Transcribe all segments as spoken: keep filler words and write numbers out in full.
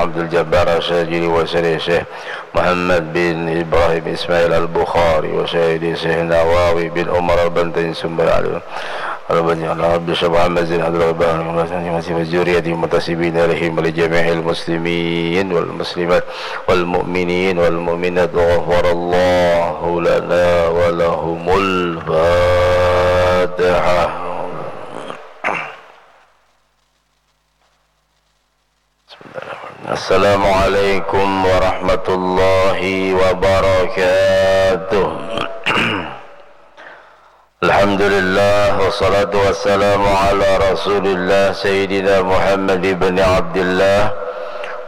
Abdul Jabbar Al-Syajili wa Syarih Syekh Muhammad bin Ibrahim Ismail Al-Bukhari wa Syahidi Syekh Nawawi bin Umar Al-Bantain Sumber Alim Al-Bantain Al-Habib Syekh Muhammad Zain Abdul Rahman Al-Bantain wa Zuriyati Mutasibin Alaihim wa li Jami'il Muslimin wal Muslimat wal Mu'minin wal Mu'minat wa Ghafarallahu lana wa lahumul Fatihah. Assalamualaikum warahmatullahi wabarakatuh. Alhamdulillah, wassalatu wassalamu ala Rasulillah Sayyidina Muhammad ibn Abdillah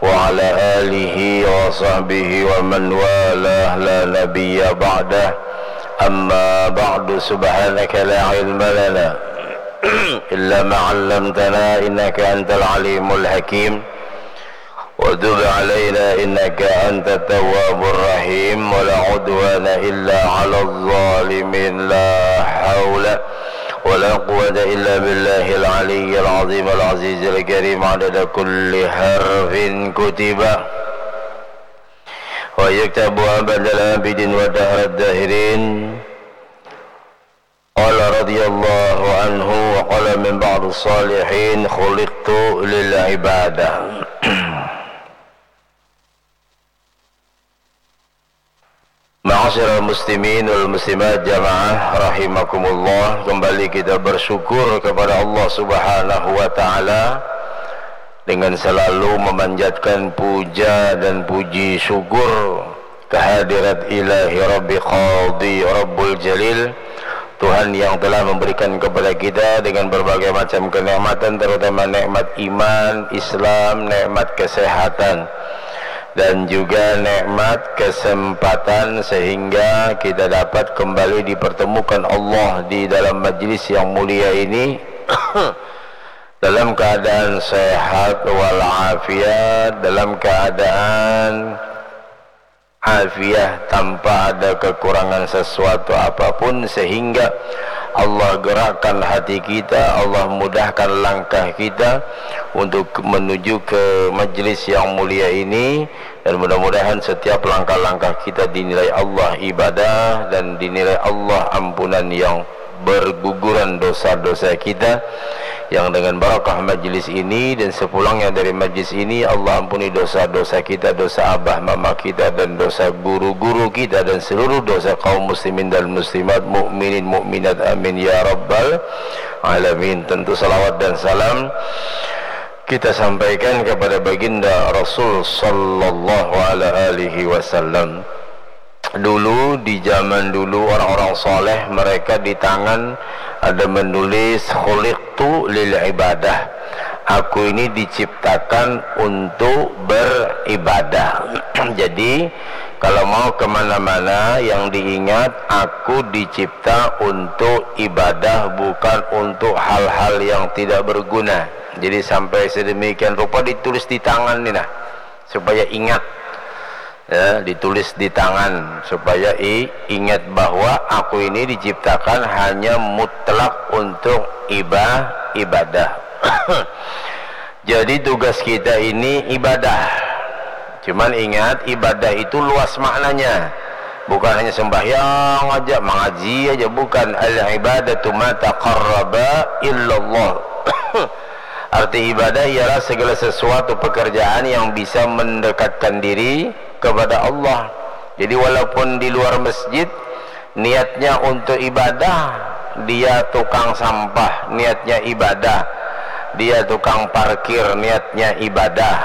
wa ala alihi wa sahbihi wa man walah, la nabiyya ba'dah. Amma ba'du, subhanaka la ilma lana illa ma 'allamtana innaka antal alimul hakim. Wa tub alaina innaka antat tawwabur rahim. Wa la udwana illa 'alal zalimin. La haula wa la quwwata illa billahil aliyyil azim al azizil karim. Adada kulli harfin kutiba wa yuktabu abadal abidin wa dahrad dahirin. Qala radhiyallahu anhu wa qala min ba'dis salihin, khuliqtu lil ibadah. Ma'asyiral muslimin wal muslimat jamaah rahimakumullah, kembali kita bersyukur kepada Allah Subhanahu wa taala dengan selalu memanjatkan puja dan puji syukur kehadirat Ilahi Rabbi Qadi Rabbul Jalil, Tuhan yang telah memberikan kepada kita dengan berbagai macam kenikmatan, terutama nikmat iman, Islam, nikmat kesehatan, dan juga nikmat kesempatan sehingga kita dapat kembali dipertemukan Allah di dalam majlis yang mulia ini dalam keadaan sehat walafiat, dalam keadaan afiah, tanpa ada kekurangan sesuatu apapun, sehingga Allah gerakkan hati kita, Allah mudahkan langkah kita untuk menuju ke majlis yang mulia ini, dan mudah-mudahan setiap langkah-langkah kita dinilai Allah ibadah dan dinilai Allah ampunan yang berguguran dosa-dosa kita, yang dengan barakah majlis ini dan sepulangnya dari majlis ini, Allah ampuni dosa-dosa kita, dosa abah mama kita, dan dosa guru-guru kita, dan seluruh dosa kaum muslimin dan muslimat, mukminin mukminat, amin ya rabbal alamin. Tentu salawat dan salam kita sampaikan kepada baginda Rasul sallallahu alaihi wasallam. Dulu, di zaman dulu, orang-orang soleh, mereka di tangan ada menulis, "Khuliqtu lil ibadah." Aku ini diciptakan untuk beribadah. Jadi, kalau mau kemana-mana, yang diingat, aku dicipta untuk ibadah, bukan untuk hal-hal yang tidak berguna. Jadi, sampai sedemikian rupa ditulis di tangan ni, nah, supaya ingat. Ya, ditulis di tangan supaya i-, ingat bahwa aku ini diciptakan hanya mutlak untuk iba-, ibadah. Jadi, tugas kita ini ibadah. Cuman ingat, ibadah itu luas maknanya. Bukan hanya sembahyang aja, mengaji aja, bukan. Al ibadatu ma taqarraba illallah. Arti ibadah ialah segala sesuatu pekerjaan yang bisa mendekatkan diri kepada Allah. Jadi, walaupun di luar masjid, niatnya untuk ibadah, dia tukang sampah, niatnya ibadah, dia tukang parkir, niatnya ibadah,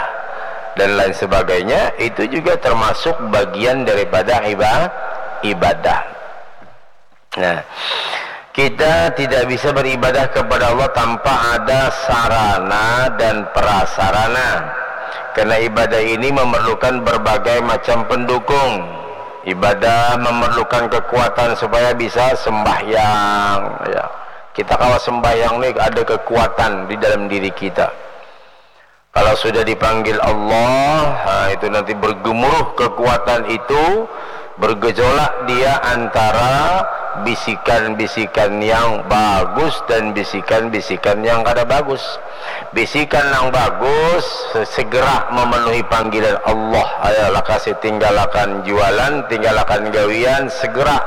dan lain sebagainya, itu juga termasuk bagian daripada iba-, ibadah. Nah, kita tidak bisa beribadah kepada Allah tanpa ada sarana dan prasarana. Karena ibadah ini memerlukan berbagai macam pendukung. Ibadah memerlukan kekuatan supaya bisa sembahyang. Ya. Kita kalau sembahyang nih ada kekuatan di dalam diri kita. Kalau sudah dipanggil Allah, nah, itu nanti bergemuruh kekuatan itu, bergejolak dia antara bisikan-bisikan yang bagus dan bisikan-bisikan yang kada bagus. Bisikan yang bagus, segera memenuhi panggilan Allah. Ayolah, kasih, tinggalakan jualan, tinggalakan gawian, segera.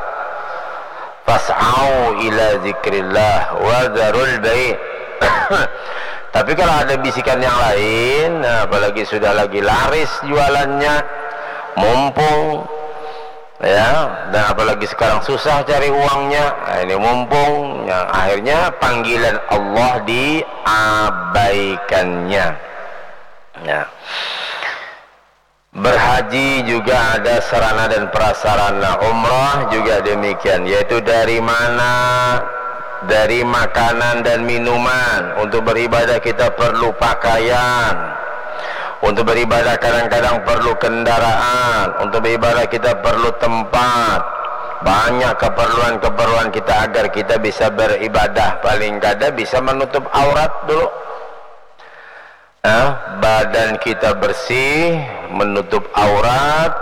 Fas'au ila zikrillah wa dzarul bai'. Tapi kalau ada bisikan yang lain, nah, apalagi sudah lagi laris jualannya, mumpung, ya, dan apalagi sekarang susah cari uangnya, nah, ini mumpung, ya, akhirnya panggilan Allah diabaikannya. Ya. Berhaji juga ada sarana dan prasarana, umrah juga demikian, yaitu dari mana, dari makanan dan minuman. Untuk beribadah kita perlu pakaian, untuk beribadah kadang-kadang perlu kendaraan, untuk beribadah kita perlu tempat. Banyak keperluan-keperluan kita agar kita bisa beribadah, paling kada bisa menutup aurat dulu. Nah, badan kita bersih, menutup aurat,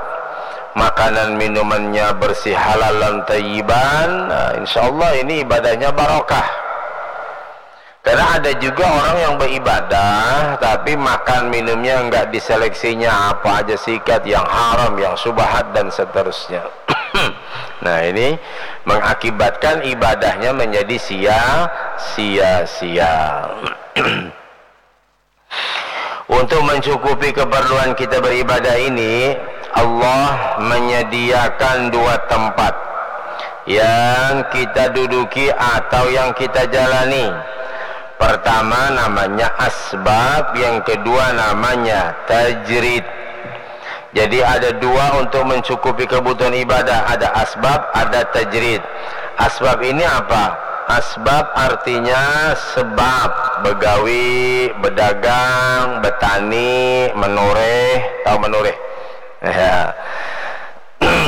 makanan minumannya bersih, halal dan tayyiban, nah, insya Allah ini ibadahnya barokah. Karena ada juga orang yang beribadah, tapi makan minumnya enggak diseleksinya, apa aja sikat, yang haram, yang subahat, dan seterusnya. Nah, ini mengakibatkan ibadahnya menjadi sia-sia. Untuk mencukupi keperluan kita beribadah ini, Allah menyediakan dua tempat yang kita duduki atau yang kita jalani. Pertama namanya asbab, yang kedua namanya tajrid. Jadi ada dua untuk mencukupi kebutuhan ibadah, ada asbab, ada tajrid. Asbab ini apa? Asbab artinya sebab, begawi, bedagang, betani, menureh, tahu menureh? Ya.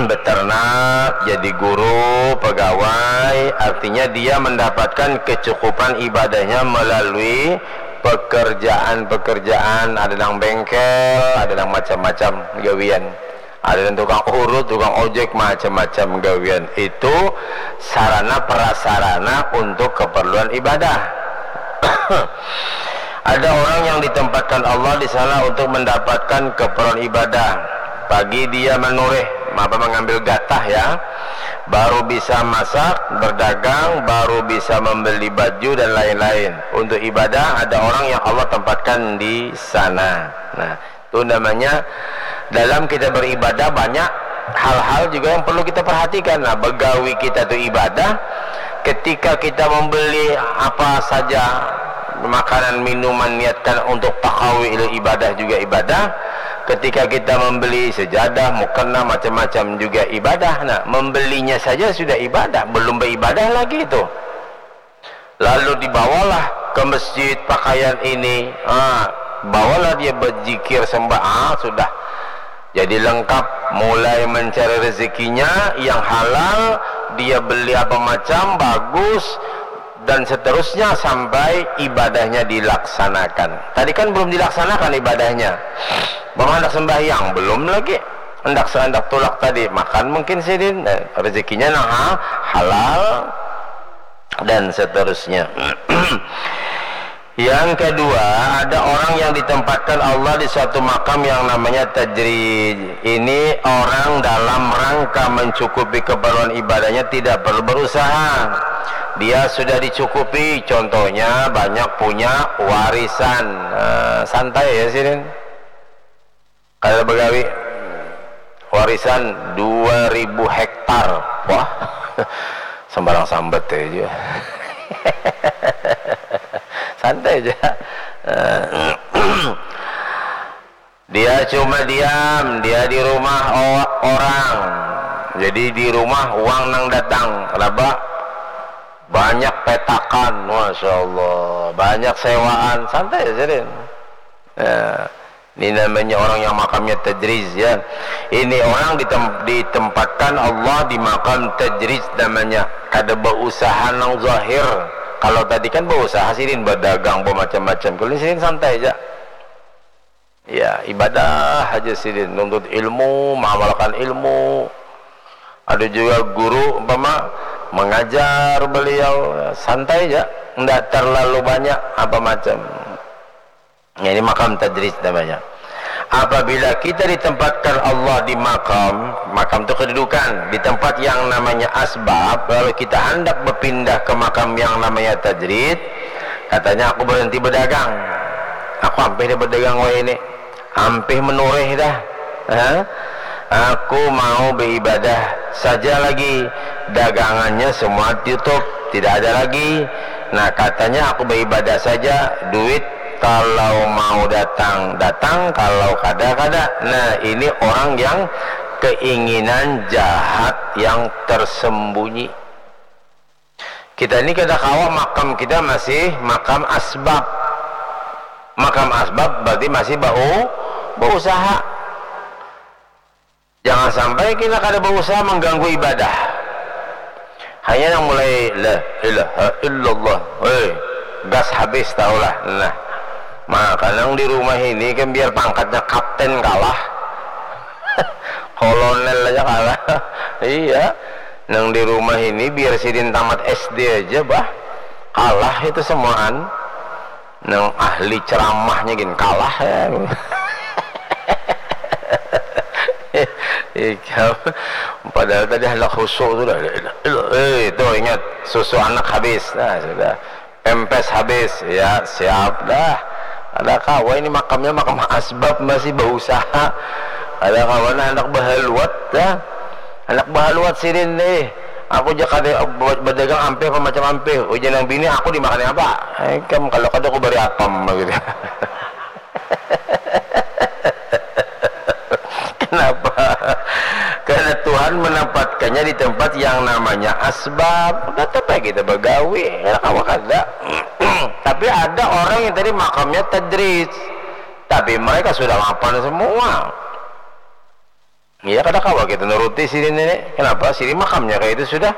Beternak, jadi guru, pegawai, artinya dia mendapatkan kecukupan ibadahnya melalui pekerjaan-pekerjaan, ada nang bengkel, ada nang macam-macam gawian. Ada tukang urut, tukang ojek, macam-macam gawian. Itu sarana prasarana untuk keperluan ibadah. Ada orang yang ditempatkan Allah di sana untuk mendapatkan keperluan ibadah. Pagi dia menureh, apa, mengambil gatah, ya. Baru bisa masak, berdagang, baru bisa membeli baju dan lain-lain. Untuk ibadah ada orang yang Allah tempatkan di sana. Nah, itu namanya dalam kita beribadah banyak hal-hal juga yang perlu kita perhatikan. Nah, begawi kita tu ibadah. Ketika kita membeli apa saja, makanan, minuman, niatkan untuk takawi, ibadah juga ibadah. Ketika kita membeli sejadah, mukena, macam-macam juga ibadah. Nah, membelinya saja sudah ibadah, belum beribadah lagi itu. Lalu dibawalah ke masjid pakaian ini, ah, bawalah dia berzikir, sembah, ah, sudah. Jadi lengkap, mulai mencari rezekinya yang halal, dia beli apa macam, bagus, dan seterusnya sampai ibadahnya dilaksanakan. Tadi kan belum dilaksanakan ibadahnya. Bang, hendak sembahyang, belum lagi. Hendak se-, hendak tulak tadi, makan mungkin sidin. Eh, rezekinya nah, ha-, halal, dan seterusnya. Yang kedua, ada orang yang ditempatkan Allah di suatu makam yang namanya tajrid. Ini orang dalam rangka mencukupi keperluan ibadahnya tidak perlu berusaha. Dia sudah dicukupi, contohnya banyak punya warisan. Eh, santai ya, sidin. Kada begawi. Warisan dua ribu hektar. Wah, sembarang sambat aja. Santai aja. Dia cuma diam, dia di rumah o-, orang. Jadi di rumah uang nang datang. Kenapa? Banyak petakan, Masya Allah. Banyak sewaan, santai aja deh. Ya. Ini namanya orang yang makamnya tajriz, ya. Ini orang ditem-, ditempatkan Allah di makam tajriz namanya. Kada berusaha nang zahir. Kalau tadi kan berusaha sidin, berdagang, bermacam-macam. Kalau ini sidin santai aja. Ya, ibadah aja sidin, nuntut ilmu, mengamalkan ilmu. Ada juga guru, umpama, mengajar beliau, santai aja, ndak terlalu banyak apa macam. Ini makam tadrij namanya. Apabila kita ditempatkan Allah di makam, makam itu kedudukan, di tempat yang namanya asbab, lalu kita hendak berpindah ke makam yang namanya tadrij, katanya, "Aku berhenti berdagang. Aku ampih dah berdagang wayah ini. Ampih menureh dah. Ha? Aku mau beribadah saja lagi. Dagangannya semua tutup, tidak ada lagi." Nah, katanya, "Aku beribadah saja, duit kalau mau datang, datang, kalau kada, kada." Nah, ini orang yang keinginan jahat yang tersembunyi. Kita ini kada kawa, makam kita masih makam asbab. Makam asbab berarti masih bau, berusaha. Jangan sampai kita kada berusaha mengganggu ibadah. Hanya yang mulai la ilaha illallah, hei, gas habis tahulah. Nah, maka nang di rumah ini kan biar pangkatnya kapten kalah, kolonel aja kalah. Iya, nang di rumah ini biar sidin tamat S D aja bah, kalah itu semuaan. Nang ahli ceramahnya gin kalah ya. Ikam, padahal tadi hendak khusyuk tu dah. Eh, tu ingat, susu anak habis. Nah, sudah. Pempes habis. Ya, siap dah. Ada kawa ini makamnya, makam asbab, masih berusaha. Ada kawa nah hendak behaluat dah. Anak bahaluat sidin nih. Aku ja kada ba-, badagang ampih apa macam ampih. Ujar nang bini, "Aku dimakani apa?" Ai kam, kalau kada aku bari apam gitu. Kenapa? Karena Tuhan menempatkannya di tempat yang namanya asbab. Tetap aja kita bagawi, ya kawa kada. Tapi ada orang yang tadi makamnya tadrij. Tapi mereka sudah mapan semua. Iya, kada kawa kita nuruti sini nenek. Kenapa? Sini makamnya kayak itu sudah.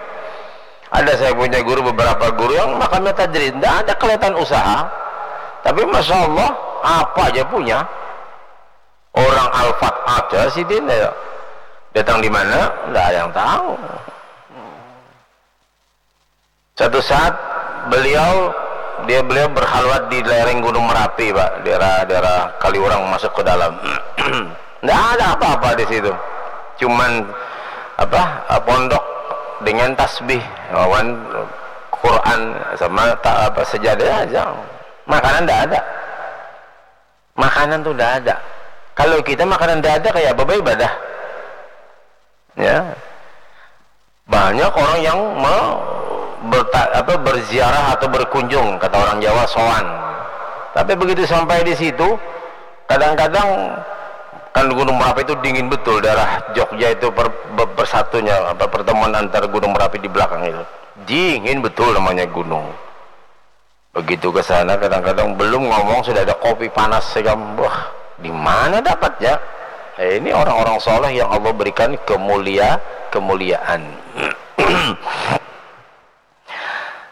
Ada saya punya guru, beberapa guru yang makamnya tadrij, ndak ada kelihatan usaha, tapi masya Allah apa aja punya. Orang Alfat ada sidin ya. Datang di mana? Ndak ada yang tahu. Satu saat beliau, dia beliau berkhalwat di lereng Gunung Merapi, Pak, daerah daerah Kaliurang masuk ke dalam. Ndak ada apa-apa di situ, cuman apa, pondok dengan tasbih, lawan Quran sama ta, apa, sejadah aja. Makanan ndak ada. Makanan tuh ndak ada. Kalau kita makanan ndak ada, kayak apa ibadah? Ya. Banyak orang yang me-, berta-, apa, berziarah atau berkunjung, kata orang Jawa, sowan. Tapi begitu sampai di situ, kadang-kadang kan Gunung Merapi itu dingin betul, daerah Jogja itu per-, be-, bersatunya, apa, pertemuan antar Gunung Merapi di belakang itu. Dingin betul namanya gunung. Begitu ke sana, kadang-kadang belum ngomong sudah ada kopi panas, saya bilang, "Wah, di mana dapatnya?" Eh, ini orang-orang soleh yang Allah berikan kemulia-, kemuliaan.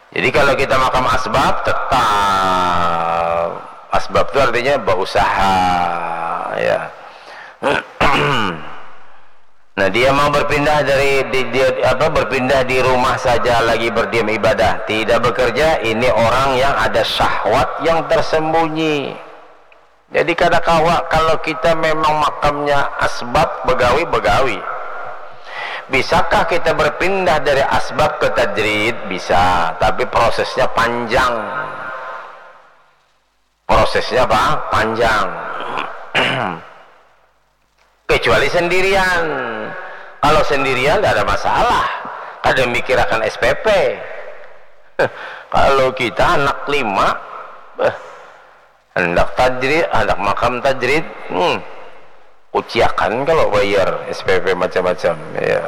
Jadi kalau kita makam asbab, tetap asbab itu artinya berusaha, ya. Nah, dia mau berpindah dari di, dia apa, berpindah di rumah saja lagi berdiam ibadah, tidak bekerja, ini orang yang ada syahwat yang tersembunyi. Jadi kada kawa kalau kita memang makamnya asbab, begawi, begawi. Bisakah kita berpindah dari asbab ke tadrij? Bisa, tapi prosesnya panjang. Prosesnya apa? Panjang. Kecuali sendirian. Kalau sendirian tidak ada masalah. Kada mikirakan S P P. Kalau kita anak lima, beh, hendak tadrij, hendak makam tadrij, hmm, kuciakan kalau bayar S P P macam-macam. Ya.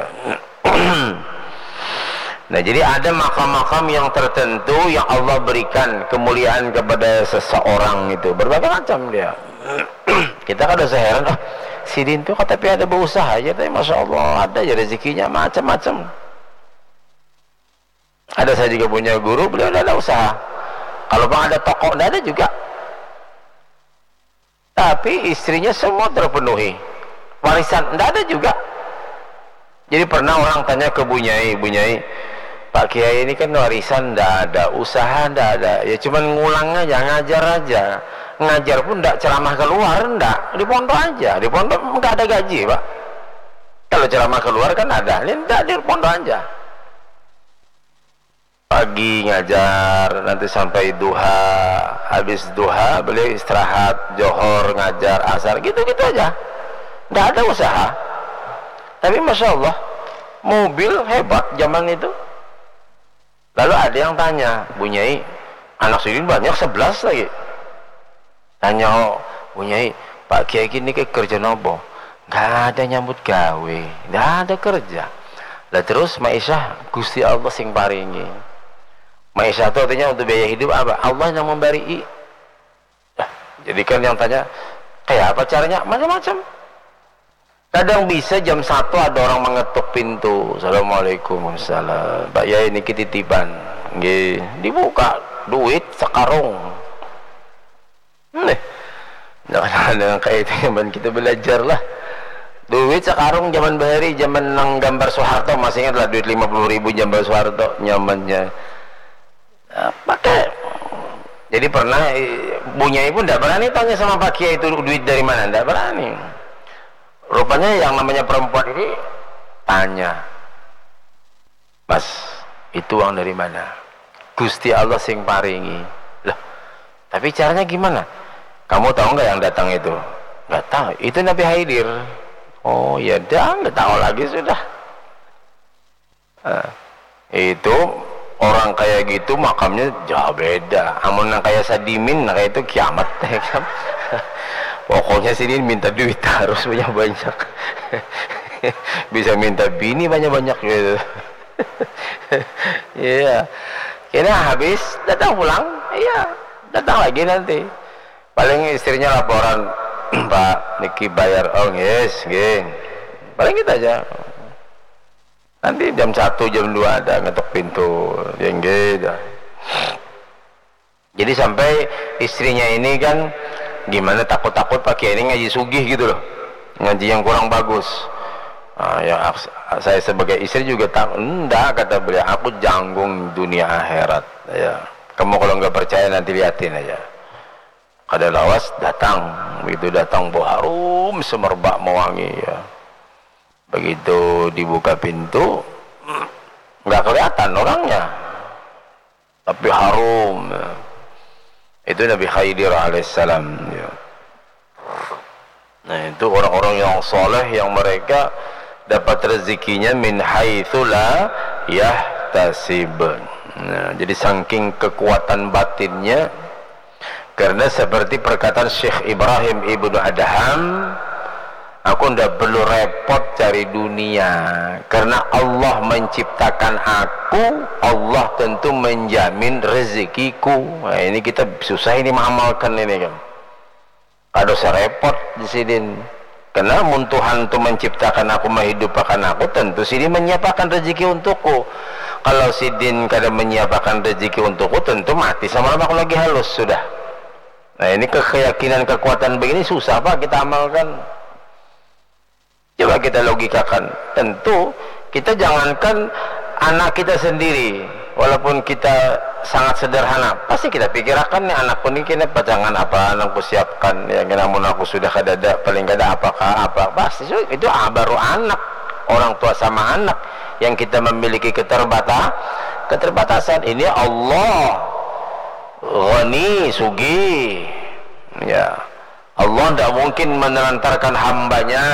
Nah, jadi ada makam-makam yang tertentu yang Allah berikan kemuliaan kepada seseorang itu. Berbagai macam dia. Kita kada usah heran, "Oh, sidin tu kata pi ada berusaha aja, tapi masya Allah ada aja rezekinya macam-macam." Ada saya juga punya guru, beliau tidak ada usaha. Kalau bang ada toko, tidak ada juga. Tapi istrinya semua terpenuhi. Warisan, tidak ada juga. Jadi pernah orang tanya ke Bunyai, "Bunyai, Pak Kiai ini kan warisan ndak ada, usaha ndak ada, ya cuman ngulang aja, ngajar aja. Ngajar pun ndak ceramah keluar, ndak, di pondok aja. Di pondok nggak ada gaji, Pak. Kalau ceramah keluar kan ada, ini ndak, di pondok aja. Pagi ngajar, nanti sampai duha, habis duha beliau istirahat, johor ngajar, asar, gitu-gitu aja. Ndak ada usaha. Tapi masya Allah, mobil hebat zaman itu. Lalu ada yang tanya, "Bu Nyai, anak sidin banyak, sebelas lagi." Tanya, "Oh, Bu Nyai, Pak Kiai gini ke kerja nopo?" "Nggak ada nyambut gawe, nggak ada kerja." Lah terus maisah Gusti Allah sing paringi. Maisah itu artinya untuk biaya hidup apa? Allah yang memberi. Nah, jadi kan yang tanya, "Kayak apa caranya?" Macam-macam. Kadang bisa jam satu ada orang mengetuk pintu. "Assalamualaikum." "Salam, Pak Yai, niki titipan." Nggih, dibuka, duit sekarung. Nih, jangan ada yang kayak itu zaman kita belajar lah. Duit sekarung zaman bahari, zaman nang gambar Soeharto, masih ingat lah duit lima puluh ribu gambar Soeharto, nyamannya. Nah, pakai. Jadi pernah, eh, Bu Nyai pun ndak berani tanya sama Pak Kiai itu duit dari mana, ndak berani. Rupanya yang namanya perempuan ini tanya, "Mas, itu uang dari mana?" "Gusti Allah sing paringi." "Loh, tapi caranya gimana?" "Kamu tahu nggak yang datang itu?" "Nggak tahu." "Itu Nabi Haidir." "Oh ya dah, nggak tahu lagi sudah." Eh, itu orang kayak gitu makamnya jauh beda. Amun yang kayak Sadimin, nah, kayak itu kiamat, ya kan? Pokoknya sini minta duit harus banyak-banyak. Bisa minta bini banyak-banyak gitu. Iya. Kena habis, datang pulang, iya, datang lagi nanti. Paling istrinya laporan, "Pak, niki bayar." "Oh, yes, geng." Paling gitu aja. Nanti jam satu, jam dua ada ngetok pintu, jengge dah. Jadi sampai istrinya ini kan gimana, takut-takut Pak Kiai ini ngaji sugih gitu loh, ngaji yang kurang bagus. Ah, ya, aks-, saya sebagai istri juga tak, "Enggak," kata beliau, "aku janggung dunia akhirat." Ya, kamu kalau nggak percaya nanti liatin aja. Kada lawas datang, begitu datang bau harum semerbak mewangi, ya. Begitu dibuka pintu, nggak kelihatan orangnya, tapi harum, ya. Itu Nabi Khidir alaihissalam, ya. Nah, itu orang-orang yang soleh yang mereka dapat rezekinya min haitsu la yahtasib. Nah, jadi saking kekuatan batinnya, karena seperti perkataan Syekh Ibrahim Ibnu Adham, "Aku ndak perlu repot cari dunia, karena Allah menciptakan aku, Allah tentu menjamin rezekiku." Nah, ini kita susah ini mengamalkan ini kan. Kada usah repot di sidin. Karena mun Tuhan tu menciptakan aku, menghidupakan aku, tentu sidin menyiapakan rezeki untukku. Kalau sidin kada menyiapakan rezeki untukku, tentu mati sama aku lagi halus sudah. Nah, ini ke-, keyakinan, kekuatan begini susah, Pak, kita amalkan. Coba kita logikakan. Tentu kita jangankan anak kita sendiri, walaupun kita sangat sederhana, pasti kita pikirakan nih, "Anakku ini kena pacangan apa, anakku siapkan, ya, kena mun aku sudah kadada, paling kada apakah apa." Pasti su-, itu, ah, baru anak, orang tua sama anak yang kita memiliki keterbata-, keterbatasan. Ini Allah Ghani, Sugih, ya. Allah ndak mungkin menelantarkan hambanya.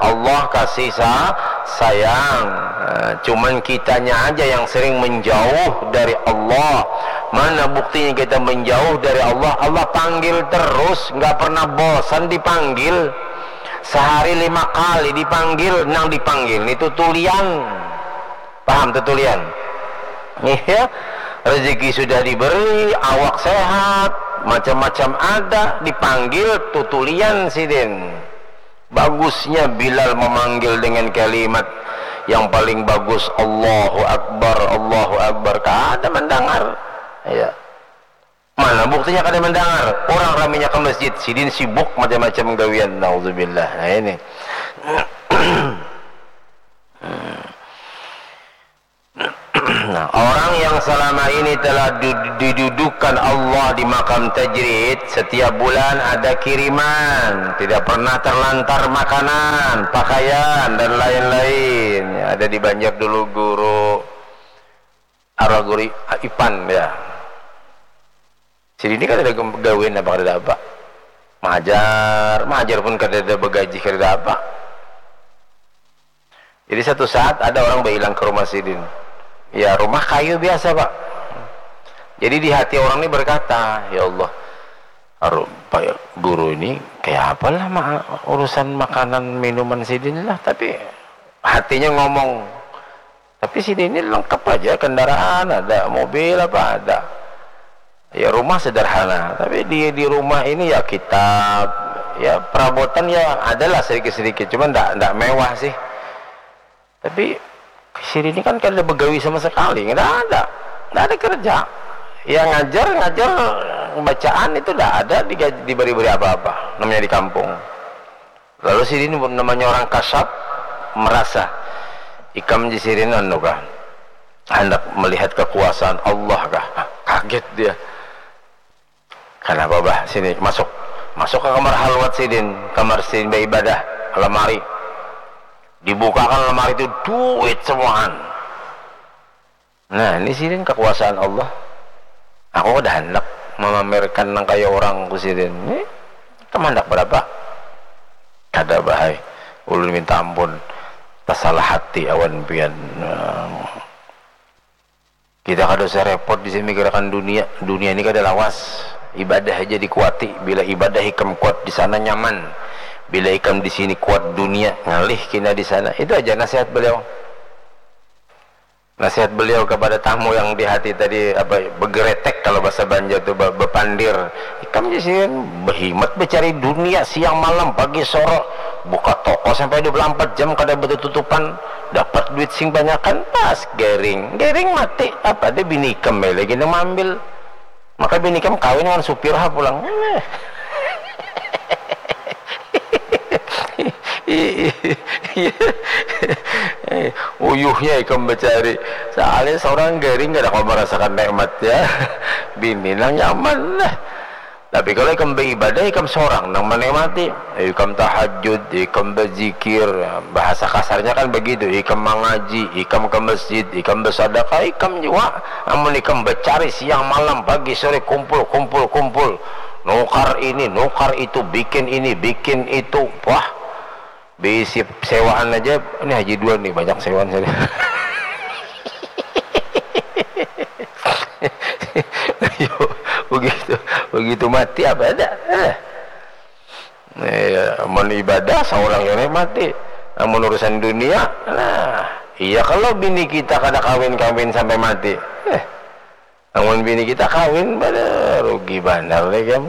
Allah kasih sa-, sayang. Eh, cuman kitanya aja yang sering menjauh dari Allah. Mana buktinya kita menjauh dari Allah? Allah panggil terus, nggak pernah bosan dipanggil. Sehari lima kali dipanggil, nang dipanggil itu tulian. Paham tuh tulian? Iya, rezeki sudah diberi, awak sehat, macam-macam ada, dipanggil tutulian sidin. Bagusnya Bilal memanggil dengan kalimat yang paling bagus, "Allahu Akbar, Allahu Akbar." Kada mendengar. Ya. Mana buktinya kada mendengar? Orang raminya ke masjid, sidin sibuk macam-macam gawian. Nauzubillah. Nah, ini. Nah, orang yang selama ini telah du- didudukkan Allah di makam tajrid, setiap bulan ada kiriman, tidak pernah terlantar makanan, pakaian, dan lain-lain. Ya, ada di Banjar dulu guru, arwah guru Ipan, ya. Sidin ni kada ada gawian apa, kada ada apa. Mahajar, mahajar pun kada ada bagaji, kada ada apa. Jadi satu saat ada orang bailang ka rumah sidin. Ya, rumah kayu biasa, Pak. Jadi di hati orang ni berkata, "Ya Allah, aru-, Pak Guru ini kaya apa lah ma-, urusan makanan minuman sidin lah." Tapi hatinya ngomong, "Tapi sidin ini lengkap aja, kendaraan ada, mobil apa ada. Ya, rumah sederhana, tapi di di rumah ini ya kitab, ya perabotan ya adalah sedikit-sedikit, cuman ndak ndak mewah sih. Tapi sidin ini kan kada begawi sama sekali, ndak ada, ndak ada kerja. Ya ngajar, ngajar bacaan itu ndak ada digaji, diberi-beri apa-apa, namanya di kampung." Lalu sidin pun namanya orang kasap merasa, "Ikam," jar sidin, "anu kah, handak melihat kekuasaan Allah kah?" Nah, kaget dia. "Kenapa, Bah? Sini, masuk." Masuk ke kamar halwat sidin, kamar sidin baibadah, lamari. Dibukakan lamari itu, duit semuaan. Nah, ini sidin kekuasaan Allah. Aku kada handak memamerkan nang kaya orang, ku sidin. Ini, "Ikam handak berapa?" "Kada, Bah ai. Ulun minta ampun, tasalah hati awan pian. Nah, kita kada usah repot di sini mikirakan dunia. Dunia ini kada lawas. Ibadah aja dikuati. Bila ibadah ikam kuat di sana nyaman. Bila ikam di sini kuat dunia, ngalih kina di sana." Itu aja nasihat beliau. Nasihat beliau kepada tamu yang di hati tadi, apa, begeretek kalau bahasa Banjar tu, be-, bepandir. "Ikam di sini behimat becari dunia siang malam, pagi sore, buka toko sampai dua puluh empat jam kada betutupan, dapat duit sing banyakan, pas garing, garing mati, apa ada bini ikam lagi nang maambil." Maka bini ikam kawin dengan supir ha pulang. Uyuhnya ikam bacari. Soalnya seorang garing kada kawa merasakan nikmatnya. Bini nang nyaman lah. Tapi kalau ikam beribadah, ikam seorang nang menikmati. Ikam tahajud, ikam berzikir, bahasa kasarnya kan begitu, ikam mangaji, ikam ke masjid, ikam bersadakah, ikam jua. Amun ikam becari siang malam, pagi sore, kumpul, kumpul, kumpul, nukar ini, nukar itu, bikin ini, bikin itu, wah, bisi sewaan aja. Ini Haji Duan nih, banyak sewaan saya. Ayo, begitu, begitu mati apa ada? Eh. Iya, mun ibadah saurang kena mati. Amun urusan dunia, nah, iya kalau bini kita kada kawin-kawin sampai mati. Eh, amun bini kita kawin, pada rugi banar nih kan.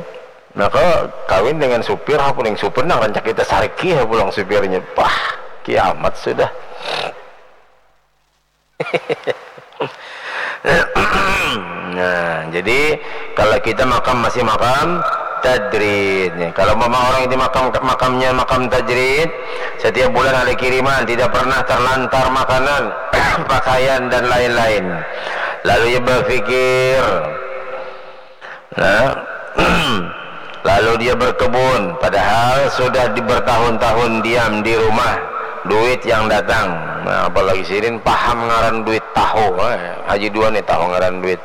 Maka kawin dengan supir, apa yang supir nang rancak kita sariki, apa pulang supirnya. Pah, kiamat sudah. Nah, jadi kalau kita makam masih makam tajrid. Kalau mama orang itu makam, makamnya makam tajrid, setiap bulan ada kiriman, tidak pernah terlantar makanan, pakaian dan lain-lain. Lalu ia berpikir, nah, lalu dia berkebun, padahal sudah di bertahun-tahun diam di rumah, duit yang datang. Nah, apalagi sidin paham ngaran duit tahu, eh, Haji Duan nih tahu ngaran duit.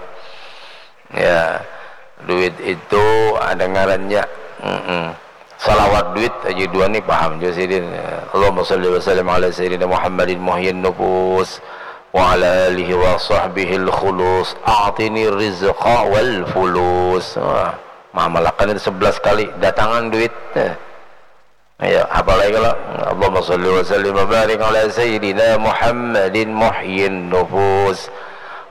Ya, duit itu ada ngarannya. Mm-mm. Salawat duit Haji Duan nih paham juga sidin. Allahumma salli wa sallim ala sayyidina Muhammadin muhyin nufus wa ala alihi wa sahbihil khulus, a'tini rizqa wal fulus. Wah, mamalakan itu sebelas kali, datangan duit. Eh. Ya, apalagi kalau Allahumma salli wa sallim wa barik ala sayyidina Muhammadin muhyin nufus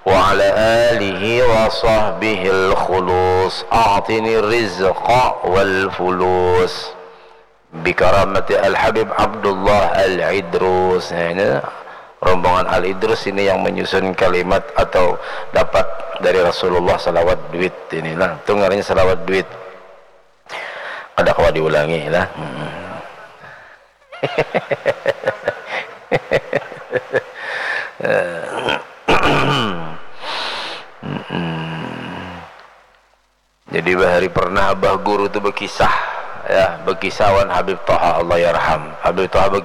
wa ala alihi wa sahbihil khulus, a'tini rizqa wal fulus. Bikaramati Al-Habib Abdullah Al-Idrus. Nah, ini rombongan Al-Idrus ini yang menyusun kalimat atau dapat dari Rasulullah salawat duit ini. Nah, itu ngarannya salawat duit. Kada kawa diulangi lah. Hmm. Dari pernah abah guru tu bekisah, ya, bekisah wan Habib Toha, Allah yarham. Habib Toha